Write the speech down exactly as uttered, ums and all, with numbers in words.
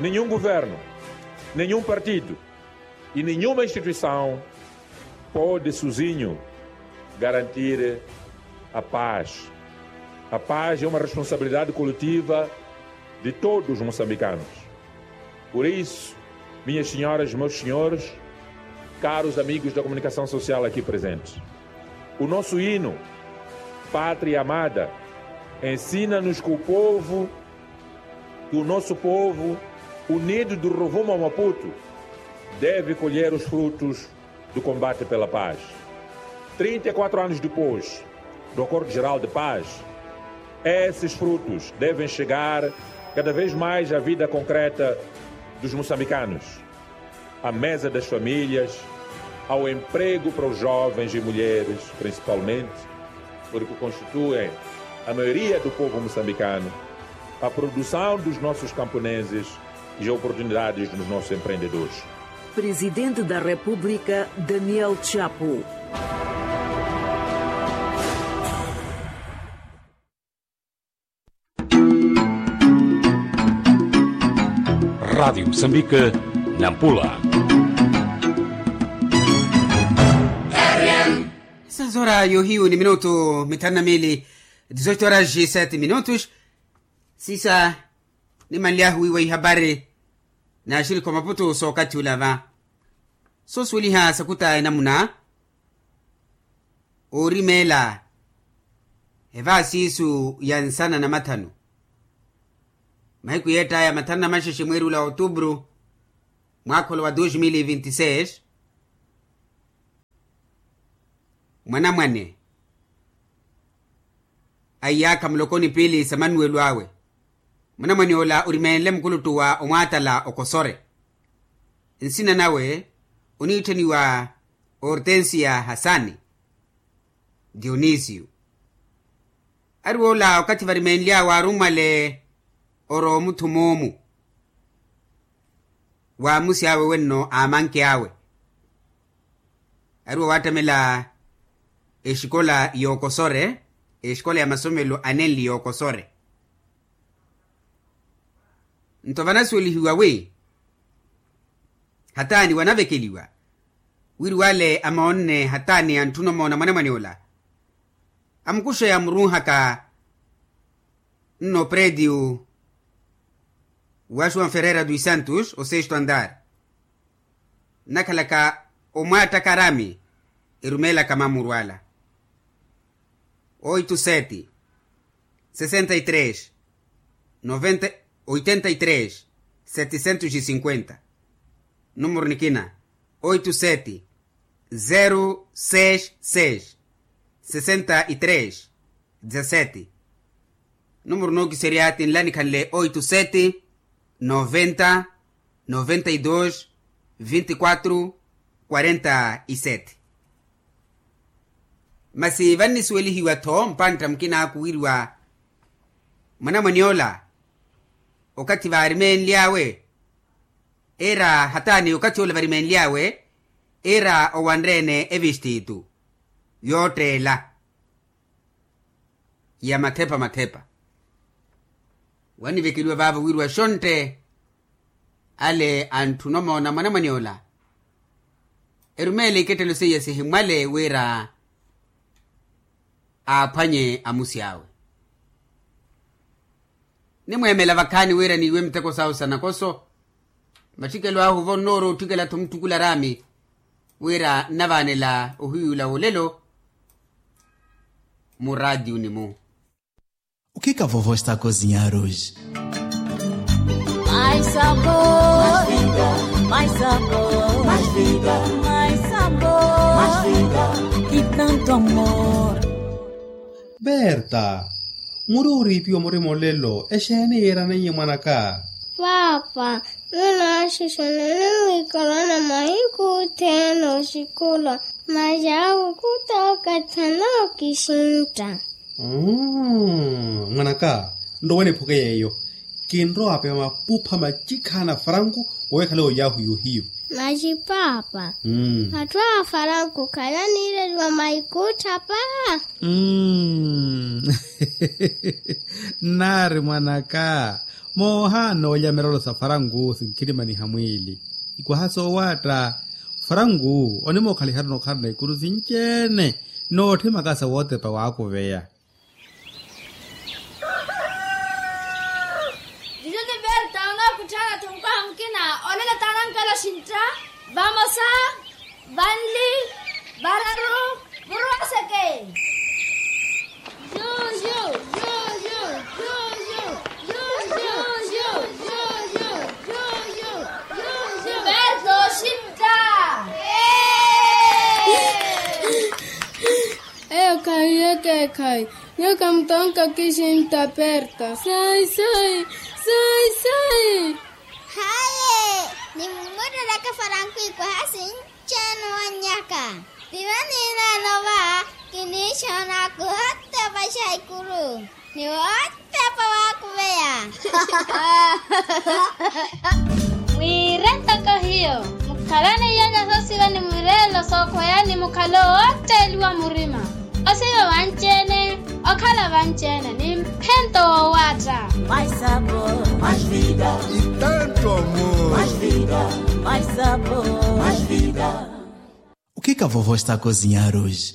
Nenhum governo, nenhum partido e nenhuma instituição pode sozinho garantir a paz. A paz é uma responsabilidade coletiva de todos os moçambicanos. Por isso, minhas senhoras e meus senhores, caros amigos da comunicação social aqui presentes, o nosso hino, Pátria Amada, ensina-nos que o povo, que o nosso povo unido do Rovuma ao Maputo deve colher os frutos do combate pela paz. Trinta e quatro anos depois do Acordo Geral de Paz, esses frutos devem chegar cada vez mais à vida concreta dos moçambicanos, à mesa das famílias, ao emprego para os jovens e mulheres, principalmente, porque constituem a maioria do povo moçambicano, à produção dos nossos camponeses e oportunidades dos nossos empreendedores. Presidente da República, Daniel Chapo. Rádio Moçambique, Nampula. Seis horas yohiyu ni minutu mithanu na mili, dezoito horas e sete minutos. Sisa, nimanly'ahu wiiwa ihapari n'axirikhi a Maputo sookathi ula va. Soosuweliha sakuta enamuna oorimeela evaasi isu ya nsana na mathanu, mahiku yeett'aya mathanu na maxexe mweeri ula wa otubru, mwaakha ola wa dos mil e vinte e seis. Mwanamwane a iyaakha muloko ni piili sa manuwelo awe. Mwanamwane ola orimeenle mukuluttu wa omwaatala okosore. Nsina nawe oniittheniwa hortensia hasani dionisio. Ari woola okathi varimeenly'awe arummwale orowa omuthum'omu wa amusi awe wenno a amanke awe. Ari woowaattamela exikola y'okosore, exikola ya masomelo anenli y'okosore. Nto vanasuwelihiwa wi hataani wanavekeliwa wiri wale amoonne hataani antthuna omoona mwanamwane ola, amukuxe amurunhaka nno predio wa joão ferreira dos santos o sexto andar, nnakhalaka omwaattaka arami erumeelaka mamuru ala. Oito sete, sessenta e três, noventa, oitenta e três, setecentos e cinquenta. Numero nikina, oito sete, zero seis seis, sessenta e três, dezassete. Numero nookiserya ti nlanikhanle oito sete, noventa, noventa e dois, vinte e quatro, quarenta e sete. Masi vannisuwelihiwa-tho mpantta mukinaaku wiriwa mwanamwane ola okathi vaarimenly'awe, iira hataani okathi ola varimeenly'awe, iira owanre-ene evistiitu yootteela ya mathepa mathepa. Wanivekeliwa vaavo wiriwa xontte ale antthuna omoona mwanamwane ola erumeele ikettelo seiya sihimwale wira aaphwanye amusi awe. Nimweemela vakhaani wira niiwe miteko sahu sa nakoso. Matthikelo ahu vonnoora otthikela-tho mutthukula araami wira nnavaanela ohiyuula wolelo muraatiyuni-mu. O que que a vovó está a cozinhar hoje? Mais sabor, mais vida, mais sabor, mais vida, mais sabor, mais vida, e tanto amor. Berta, muri oriipiwa murima olelo exeeni yiiraneiye mwanaka? Paapa, nunaaxixana ninwiikalana mahiku othene oxikulwa, masi awo khutookatha nookixintta. Mmm, mwanaka, nrowe niphuke yeeyo. Kinrowa apewa mapupha machikhaana a faranku owekhale oyahu yohiyu. Masi paapa, matthu a faranku khalaniireliwa maikuuttha paa. Mmm. Nnaari mwanaka, Moohaana oolya mirelo sa faranku sinkhirimaniha mwiili. Ikwaha soowaatta. Faranku onimookhaliharu nokharana ikuru sinci-ene. Nootthimaka sa wootepa waakuveya. Jujuni berta onookutthaana-tho mukwaha mukina. Olelo taana nkelo xintta. Vamosa, vanli, vararu, vurwaseke. Berto xintta. Eyo khayi, eke khayi. Nyuwo khamutonka kixintta perta. Sai sai, sai sai. Haye, nimumurereke faranku ikwaha sinci-ene owannyaka. Piwa nineene ova kiniixoona kuhotepa xaikuru. Ni wootepa waakuveya. Mwiire ntoko hiyo, mukhalane iy'olya soosiva ni mwireelo sookhweya ni mukhalo wootteliwa murima. Osiva vanci-ene, okhala vanci-ene ni mphento woowaatta. Itento mu ukika vovo estako zinyaruji.